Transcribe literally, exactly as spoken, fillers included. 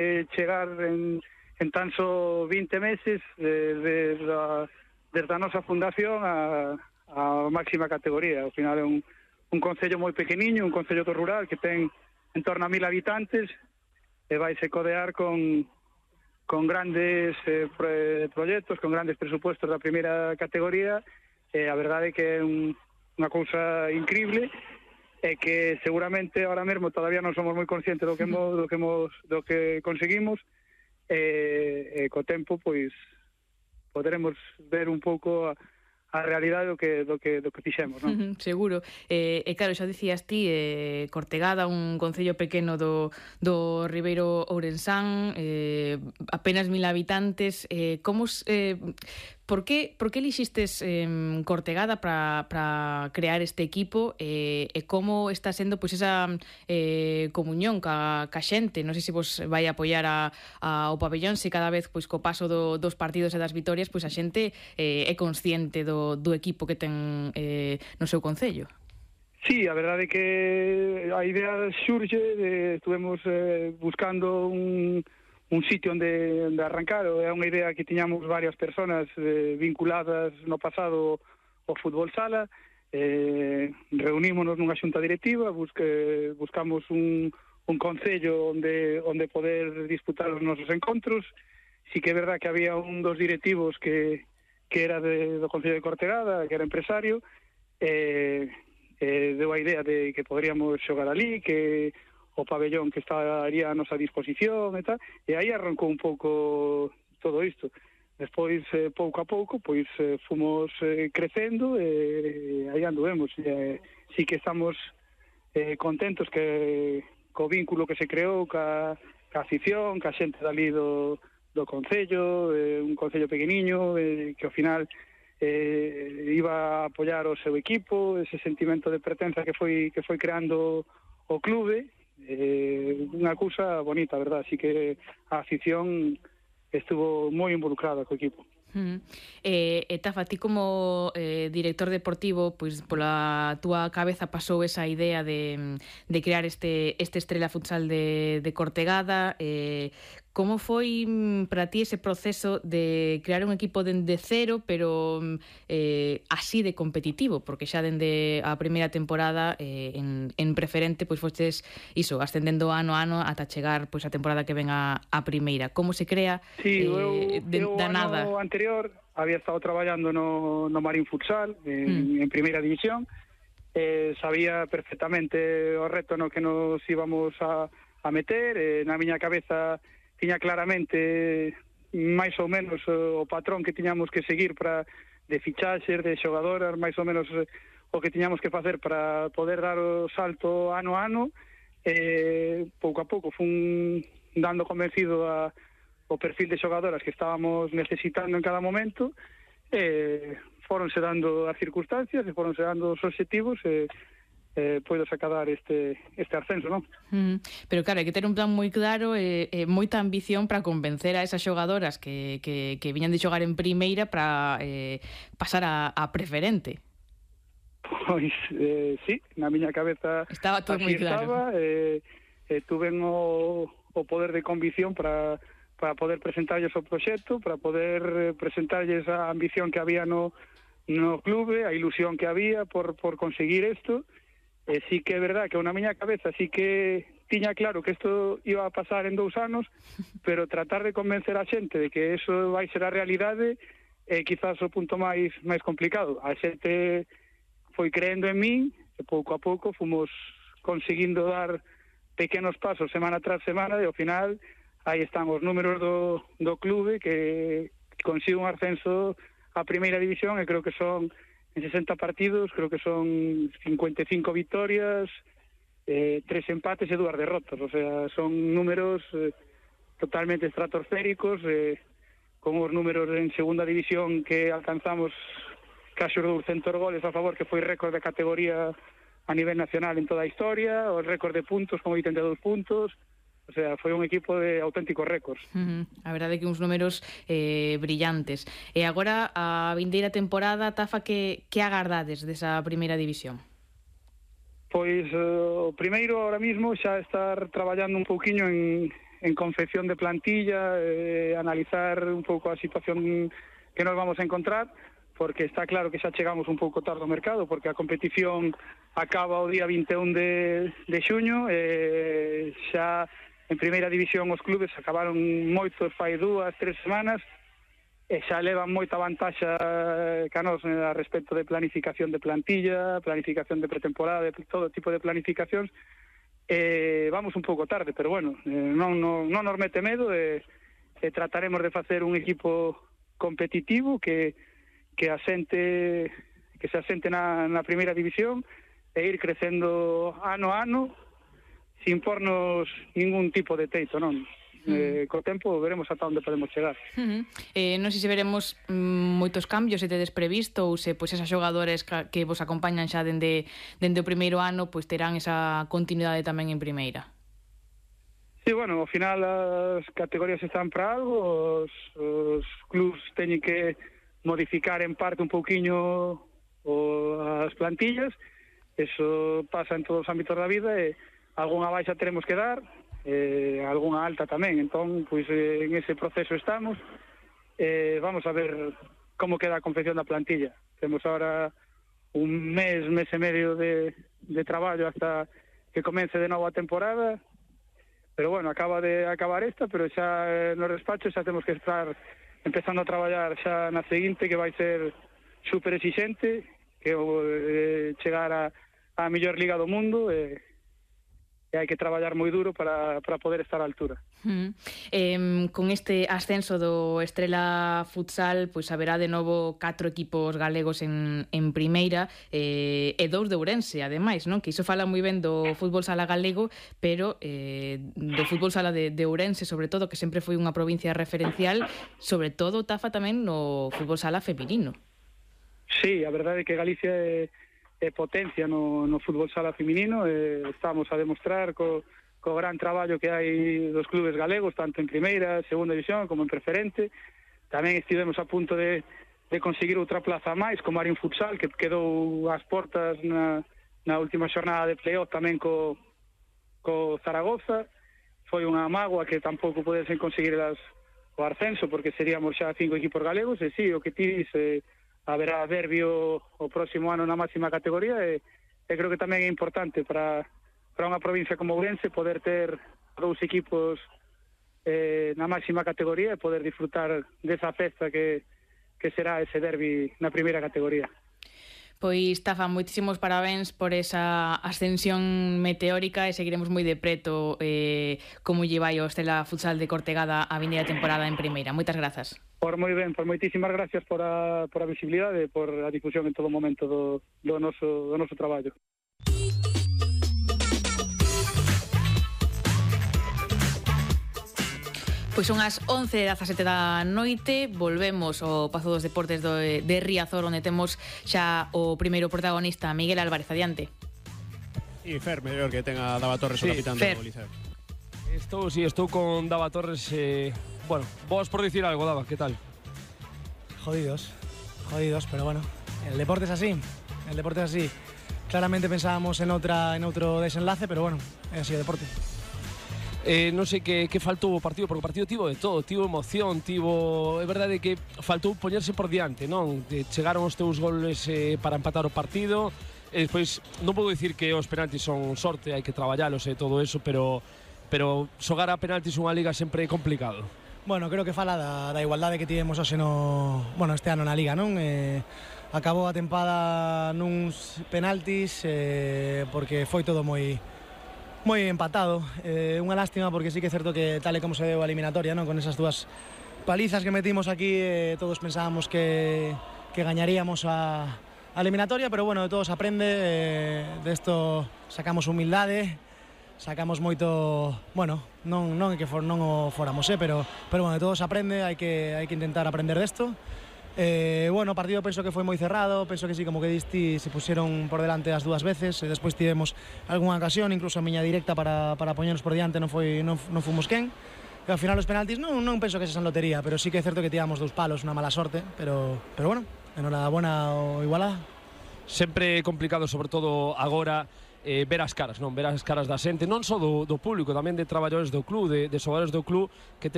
eh, chegar en, en tan só vinte meses eh, desde, a, desde a nosa fundación a, a máxima categoría. Ao final é un, un concello moi pequeniño, un concello do rural que ten en torno a mil habitantes e vaise codear con, con grandes eh, pro, proxectos, con grandes presupuestos da primeira categoría. E a verdade é que é un, unha cousa increíble e que seguramente ahora mesmo todavía non somos moi conscientes do que hemos, do que hemos, do que conseguimos e, e co tempo pois poderemos ver un pouco a, a realidade do que do que do que fixemos, non? Seguro. E eh, claro, xa dicías ti, eh, Cortegada, un concello pequeno do do Ribeiro Ourensán, eh, apenas mil habitantes, eh, como eh, por que por que elixistes eh, Cortegada para para crear este equipo eh, e como está sendo pois esa eh, comunión ca, ca xente? Non sei se vos vai apoiar a, a o pabellón, se cada vez pois co paso do, dos partidos e das vitorias pois a xente eh, é consciente do do equipo que ten eh, no seu concello. Sí, a verdade é que a idea xurxe, de, estuvemos eh, buscando un, un sitio onde, onde arrancar, é unha idea que tiñamos varias personas eh, vinculadas no pasado ao fútbol sala, eh, reunímonos nunha xunta directiva, busque, buscamos un, un concello onde, onde poder disputar os nosos encontros. Sí que é verdad que había un dos directivos que que era de, do Concello de Cortegada, que era empresario, e eh, eh, deu a idea de que poderíamos xogar ali, que o pabellón que estaría a nosa disposición e tal, e aí arrancou un pouco todo isto. Despois, eh, pouco a pouco, pois eh, fomos eh, crecendo e eh, aí anduvemos. Eh, sí que estamos eh, contentos que co vínculo que se creou ca, ca afición, ca xente dali do do concello, eh, un concello pequeniño eh, que ao final eh, iba a apoiar o seu equipo, ese sentimento de pertenza que foi que foi creando o clube, eh, unha cousa bonita, a verdad, así que a afición estuvo moi involucrada co equipo. Uh-huh. E, e Tafa, ti como eh, director deportivo, pois pola túa cabeza pasou esa idea de, de crear este, este Estrela Futsal de, de Cortegada. eh, como foi para ti ese proceso de crear un equipo dende cero, pero eh, así de competitivo? Porque xa dende a primeira temporada eh, en, en preferente, pois fostes iso, ascendendo ano a ano ata chegar pois a temporada que ven a, a primeira. Como se crea sí, eh, eu, de, eu da nada? Ano anterior había estado traballando no, no Marín Futsal en, mm. en primeira división, eh, sabía perfectamente o reto no que nos íbamos a, a meter, eh, na miña cabeza tiña claramente máis ou menos o patrón que tiñamos que seguir para de fichaxes, de xogadoras, máis ou menos o que tiñamos que facer para poder dar o salto ano a ano. Eh, pouco a pouco fun dando convencido a o perfil de xogadoras que estábamos necesitando en cada momento, e foronse dando as circunstancias e foronse dando os obxectivos e eh, poido sacar este, este ascenso, non? Mm, pero claro, hai que ter un plan moi claro e, e moita ambición para convencer a esas xogadoras que, que, que viñan de xogar en primeira para eh, pasar a, a preferente. Pois, eh, sí, na miña cabeza estaba todo moi claro. Estaba, eh, eh, tuven o, o poder de convicción para para poder presentarlles o proxecto, para poder eh, presentarlles a ambición que había no, no clube, a ilusión que había por, por conseguir isto. E sí que é verdad que na miña cabeza sí que tiña claro que isto iba a pasar en dous anos, pero tratar de convencer a xente de que eso vai ser a realidade é quizás o punto máis máis complicado. A xente foi creendo en min e pouco a pouco fomos conseguindo dar pequenos pasos semana tras semana e ao final aí están os números do, do clube que consigue un ascenso a primeira división e creo que son en sesenta partidos, creo que son cincuenta e cinco victorias, eh, tres empates e dúas derrotas, o sea, son números eh, totalmente estratosféricos, eh, con os números en segunda división que alcanzamos casi os douscentos goles a favor, que foi récord de categoría a nivel nacional en toda a historia, o récord de puntos con oitenta e dous puntos. O sea, foi un equipo de auténticos récords. Uh-huh. A verdade é que uns números eh, brillantes. E agora, a vindeira temporada, Tafa, que, que agardades desa primeira división? Pois, uh, o primeiro, ahora mismo, xa estar traballando un pouquiño en, en confección de plantilla, eh, analizar un pouco a situación que nos vamos a encontrar, porque está claro que xa chegamos un pouco tarde ao mercado, porque a competición acaba o día vinte e un de, de xuño, e xa en primeira división os clubes acabaron moitos fai dúas, tres semanas, e xa levan moita vantaxa ca nos a respecto de planificación de plantilla, planificación de pretemporada, de todo tipo de planificacións. Eh, vamos un pouco tarde, pero bueno, eh, non, non, non nos mete medo, e eh, eh, trataremos de facer un equipo competitivo que, que asente que se asente na, na primeira división e ir crecendo ano a ano sin pornos ningún tipo de teito, non? Eh, co tempo veremos ata onde podemos chegar. Uh -huh. eh, non sei se veremos mm, moitos cambios, se tedes previsto, ou se pois, esas xogadores que vos acompañan xa dende, dende o primeiro ano pois terán esa continuidade tamén en primeira. Sí, bueno, ao final as categorías están para algo, os, os clubs teñen que modificar en parte un pouquiño o, as plantillas, eso pasa en todos os ámbitos da vida, e algunha baixa teremos que dar, eh, algunha alta tamén, entón, pois eh, en ese proceso estamos, eh, vamos a ver como queda a confección da plantilla. Temos ahora un mes, mes e medio de, de traballo hasta que comece de novo a temporada, pero bueno, acaba de acabar esta, pero xa eh, no despacho xa temos que estar empezando a traballar xa na seguinte, que vai ser super exixente, que é eh, chegar a, a mellor liga do mundo, e eh, e hai que traballar moi duro para, para poder estar á altura. Uh -huh. eh, con este ascenso do Estrela Futsal, pois haberá de novo catro equipos galegos en, en primeira, eh, e dous de Ourense, ademais, non? Que iso fala moi ben do fútbol sala galego, pero eh, do fútbol sala de, de Ourense, sobre todo, que sempre foi unha provincia referencial, sobre todo tafa tamén no fútbol sala feminino. Sí, a verdade é que Galicia é é potencia no, no fútbol sala feminino, e estamos a demostrar co, co gran traballo que hai dos clubes galegos, tanto en primeira, segunda división, como en preferente. Tamén estivemos a punto de, de conseguir outra plaza máis, como Marín Futsal, que quedou ás portas na, na última xornada de playoff tamén co, co Zaragoza. Foi unha mágoa que tampouco podesen conseguir as, o ascenso, porque seríamos xa cinco equipos galegos, e sí, o que ti dice, haberá derbi o, o próximo ano na máxima categoría, e, e creo que tamén é importante para, para unha provincia como Ourense poder ter dous equipos eh, na máxima categoría e poder disfrutar desa festa que, que será ese derbi na primeira categoría. Pois, Tafa, moitísimos parabéns por esa ascensión meteórica, e seguiremos moi de preto eh, como lle vai o Estrela Futsal de Cortegada a vindeira temporada en primeira. Moitas grazas. Por moi ben, por moitísimas gracias por a, por a visibilidade e por a difusión en todo momento do, do, noso, do noso traballo. Pois son as once e dezasete da noite, volvemos ao Pazo dos Deportes do, de Riazor, onde temos xa o primeiro protagonista, Miguel Álvarez, adiante. E Fer, mellor que tenga Dava Torres, sí, o capitán do Liceo. Estou, si, sí, estou con Dava Torres, eh, bueno, vos por dicir algo, Dava, que tal? Jodidos, jodidos, pero bueno, el deporte es así, el deporte es así. Claramente pensábamos en outra en outro desenlace, pero bueno, é así o deporte. Eh, non sei que, que faltou o partido, porque o partido tivo de todo, tivo emoción, tivo... É verdade que faltou poñerse por diante, non? De, chegaron os teus goles eh, para empatar o partido, e despois non podo dicir que os penaltis son sorte, hai que traballalos e todo eso, pero, pero xogar a penaltis unha liga sempre é complicado. Bueno, creo que fala da, da igualdade que tivemos hoxe no... Bueno, este ano na liga, non? Eh, acabou a tempada nuns penaltis eh, porque foi todo moi... moi empatado, eh, unha lástima porque sí que é certo que tal e como se deu a eliminatoria, non? Con esas dúas palizas que metimos aquí, eh, todos pensábamos que, que gañaríamos a, a eliminatoria, pero bueno, de todos aprende, eh, de esto sacamos humildade, sacamos moito, bueno, non, non é que for, non o foramos, eh, pero, pero bueno, de todos aprende, hai que, hai que intentar aprender desto. Eh, bueno, o partido penso que foi moi cerrado, penso que sí, como que diste, se pusieron por delante as dúas veces, e despois tivemos algunha ocasión, incluso a miña directa para, para poñernos por diante non foi non, non fomos quen, e ao final os penaltis non, non penso que se san lotería, pero sí que é certo que tivamos dous palos, unha mala sorte, pero, pero bueno, enhorabuena o Igualada. Sempre complicado, sobre todo agora, eh, ver as caras, non? Ver as caras da xente, non só do, do público, tamén de traballadores do club, de, de xogadores do club, que